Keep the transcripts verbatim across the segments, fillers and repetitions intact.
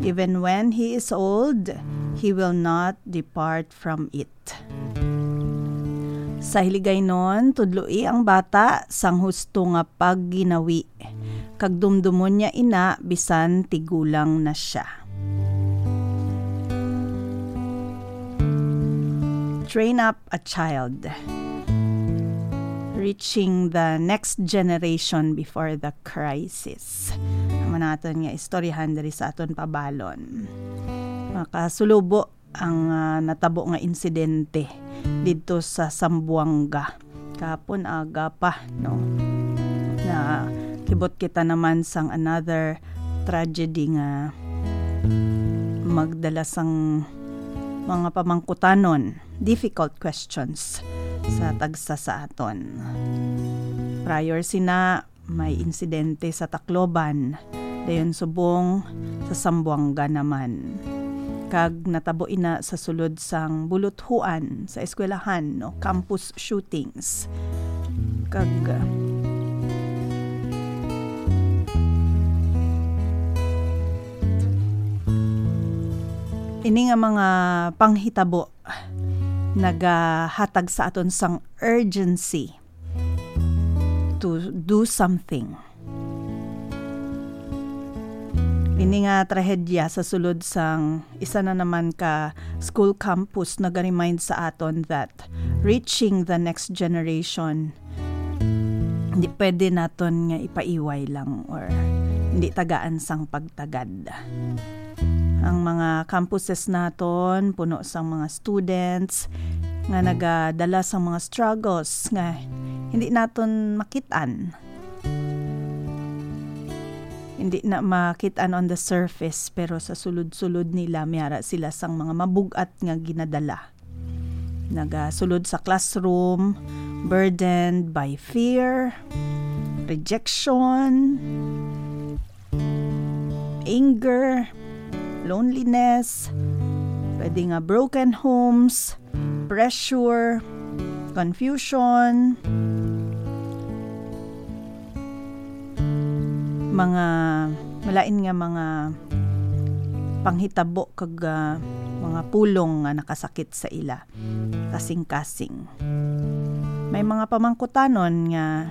Even when he is old, he will not depart from it. Sa Hiligaynon, tudloi ang bata sang husto nga pagginawi, kag dumdumon niya ina bisan tigulang na sia. Train up a child. Reaching the next generation before the crisis. Amo na aton nga istoryahan diri sa aton pabalon. Makasulobo ang, ah, natabo nga insidente didto sa Zamboanga kahapon aga pa, no? Na kibot kita naman sang another tragedy nga magdala sang mga pamangkutanon, difficult questions sa tagsa sa aton. Prior sina, may insidente sa Tacloban, dayon subong sa Zamboanga naman. Kag natabo ina sa sulod sang buluthuan sa eskwelahan, no, campus shootings. Kag, uh, ini nga mga panghitabo nagahatag sa aton sang urgency to do something. Ini nga trahedya sa sulod sang isa na naman ka school campus nag-remind sa aton that reaching the next generation, hindi pwede naton nga ipaiway lang or hindi tagaan sang pagtagad. Ang mga campuses naton puno sang mga students nga nagadala sang mga struggles nga hindi naton makit-an. Hindi na makit-an on the surface, pero sa sulod-sulod nila, may ara sila sang mga mabug-at nga ginadala. Nagasulod sa classroom, burdened by fear, rejection, anger, loneliness, pwede nga broken homes, pressure, confusion, mga malain nga mga panghitabo kag, ah, mga pulong nga nakasakit sa ila kasing-kasing. May mga pamangkutanon nga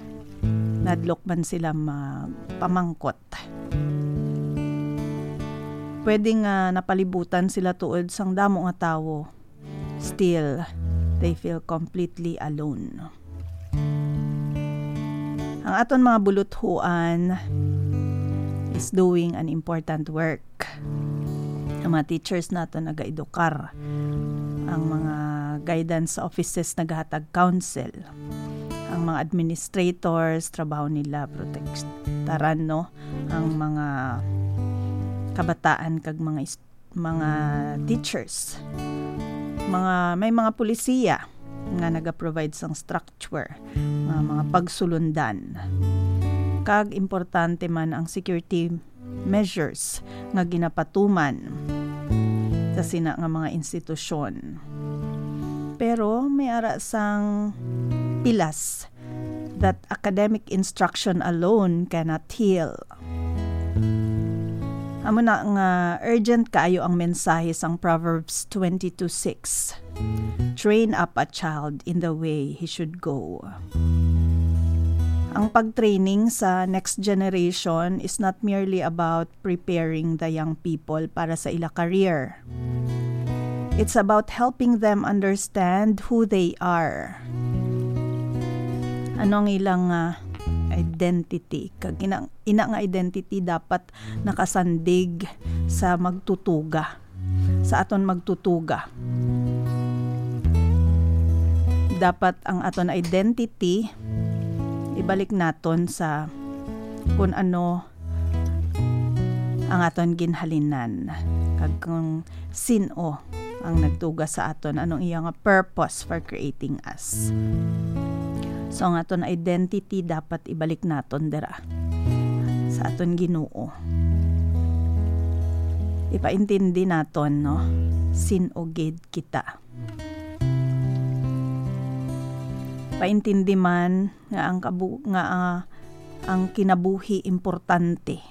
nadlok man sila magpamangkot. Pwede nga napalibutan sila tuod sang damo nga tawo. Still, they feel completely alone. Ang aton mga buluthuan is doing an important work. Ang mga teachers naton nagaedukar. Ang mga guidance offices nagahatag counsel. Ang mga administrators, trabaho nila protektaran, no, ang mga kabataan kag mga ist-, mga teachers. Mga, may mga pulisiya nga naga-provide sang structure, nga mga pagsulundan. Kag importante man ang security measures nga ginapatuman sa sina nga mga institusyon. Pero may ara sang pilas that academic instruction alone cannot heal. Amo na nga urgent kaayo ang mensahe sang Proverbs twenty-two six. Train up a child in the way he should go. Ang pag-training sa next generation is not merely about preparing the young people para sa ila career. It's about helping them understand who they are. Ano ang ilang, ah, identity? Kag ina, ina nga identity dapat nakasandig sa magtutuga, sa aton magtutuga. Dapat ang aton identity ibalik naton sa kun ano ang aton ginhalinan, kag kung sin-o ang nagtuga sa aton, anong iya nga purpose for creating us. So, ang aton identity dapat ibalik naton dira sa aton Ginoo. Ipaintindi naton, no, sin-o gid kita. Paintindi man nga ang kabu-, nga, ah, ang kinabuhi importante.